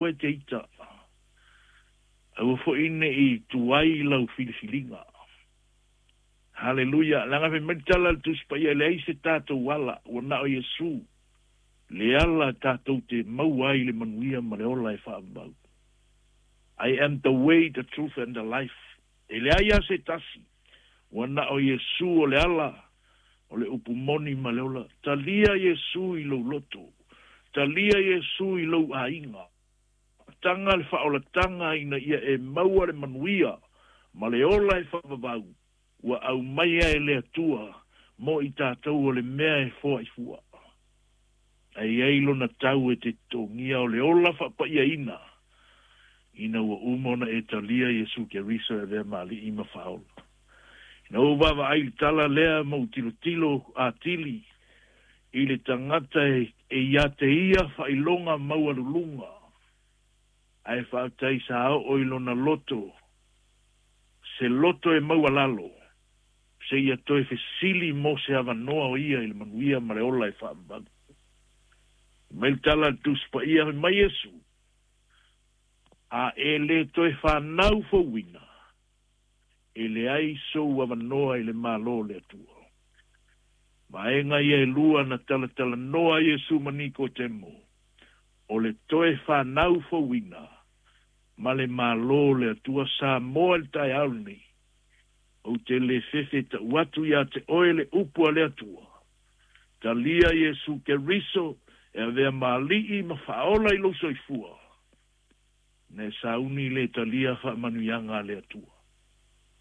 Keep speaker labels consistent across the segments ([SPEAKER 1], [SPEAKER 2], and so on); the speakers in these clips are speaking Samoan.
[SPEAKER 1] E te ita, aua foi neʻi tuai lau filifiliga. Haleluia! Leaga fai mai le tala a le Tusi Paia, e leai se tatou ala, ua na o Iesu le ala tatou te maua ai le manuia ma le ola e faavavau. I am the way, the truth and the life. E leai lava se tasi, ua na o Iesu o le ala, o le upu moni ma le ola. Talia Iesu i lou loto. Talia Iesu i lou aiga. Taga le faaolataga ina ia e maua le manuia ma le ola e faavavau ua aumaia e le Atua mo i tatou o le mea e foaifua. Ae i ai lona tau e te totogia o le ola faapaiaina ina ua uma ona e talia Iesu Keriso e avea ma Alii ma Faaola. Ina ua ou vaavaai i le tala lea ma ou tilotilo atili i le tagata e ia te ia faailoga maualuluga, ae faafetai sa oo i lona loto, se loto e maualalo, seia toe fesili mo se avanoa o ia i le manuia ma le ola e faavavau. Fai mai le tala a le Tusi Paia, fai mai Iesu, A e le toe fanau fouina, e leai sou avanoa i le Malo o le Atua. Vaega ia e lua na talatalanoa ai Iesu ma Nikotemo, o le toe fanau fouina ma le Malo o le Atua. Samoa i le taeao lenei, ou te le fefe tau atu ia te oe le upu a le Atua. Talia Iesu Keriso e avea ma Alii ma Faaola i lou soifua. Na e sauni le talia faamanuiaga a le Atua,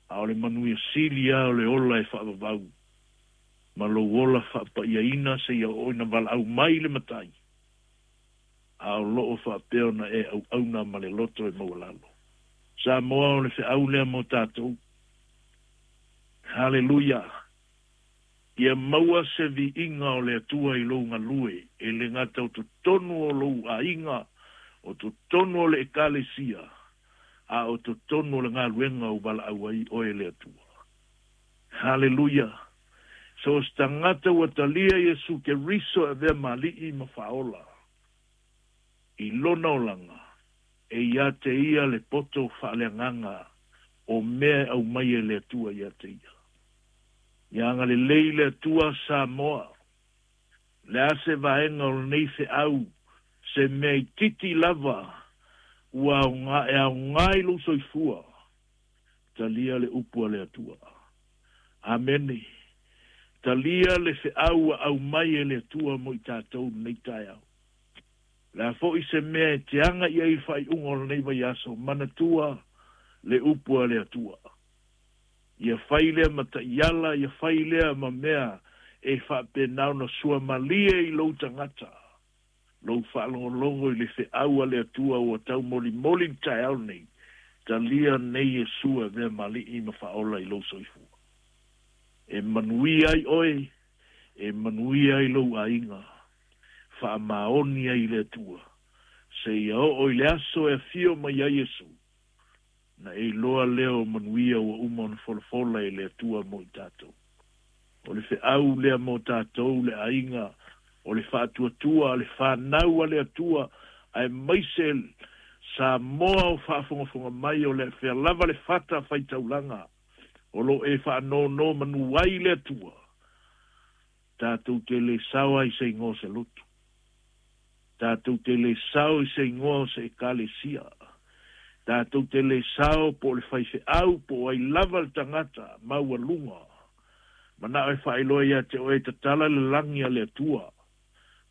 [SPEAKER 1] a o le manuia sili lava o le ola e faavavau ma lou ola faapaiaina seia oo ina valaau mai le Matai, a o loo faapea ona e auauna ma le loto e maualalo. Samoa, o le feau lea mo tatou. Haleluia! Ia maua se viiga o le Atua i lou galue, e le gata o totonu o lou aiga, o totonu o le Ekalesia, a o totonu o le galuega ua valaau ai oe e le Atua. Haleluia! So o se tagata ua talia Iesu Keriso e avea ma Alii ma Faaola i lona olaga, e ia te ia le poto faaleagaga o mea e aumaia e le Atua ia te ia. Ia agalelei le Atua Samoa. Le a se vaega o lenei feau, se mea itiiti lava ua aoga, e aoga i lou soifua, talia le upu a le Atua. Amene. Talia le feau ua aumai e le Atua mo i tatou lenei taeao. O le a foi se mea e te aga i ai i le faaiuga o lenei vaiaso, manatua le upu a le Atua. Ia fai lea ma taiala, ia fai lea ma mea e faapena ona suamalie i lou tagata, lou faalogologo i le feau a le Atua ua taumolimoli i le taeao lenei, talia nei Iesu e avea ma Alii ma Faaola i lou soifua. E manuia ai oe, e manuia ai lou aiga, faamaoni ai i le Atua, seia oo i le aso e afio mai ai Iesu. Na e iloa lea o manuia ua uma ona folafola e le Atua mo i tatou. O le feau lea mo tatou le aiga o le faatuatua a le fanau a le Atua aemaise Samoa o faafogafoga mai o le fea lava le fata faitaulaga o lo e faanonomanu ai le Atua tatou te le sao ai se igoa o se lotu. Tatou te le sao i se igoa o se Ekalesia. Tatou te le sao po o le faifeau po o ai lava le tagata maualuga. Manao e faailoa ia te oe e tatala le lagi a le Atua,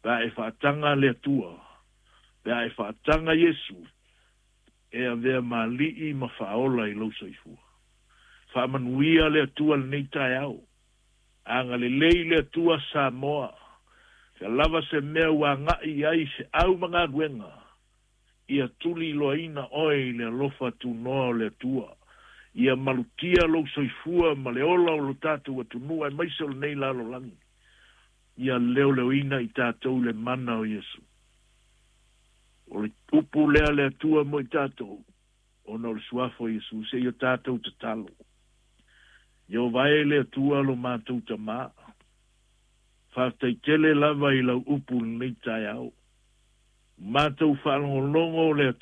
[SPEAKER 1] pe a e faataga le Atua, pe a e faataga Iesu, e avea ma Alii ma Faaola i lou soifua. Faamanuia le Atua lenei taeao. Agalelei le Atua Samoa, fea lava se mea ua agai i ai feau ma galuega, ia tuliloaina oe i le alofa tunoa o le Atua, ia malutia lou soifua ma le ola o lo tatou atunuu aemaise o lenei lalolagi, ia leoleoina i tatou le mana o Iesu. O le upu lea a le Atua mo i tatou, ona o le suafa o Iesu, seia tatou tatalo. Ieova e le Atua lo matou Tamā, faafetai tele lava i lau upu i lenei taeao. Matou faalogologo o le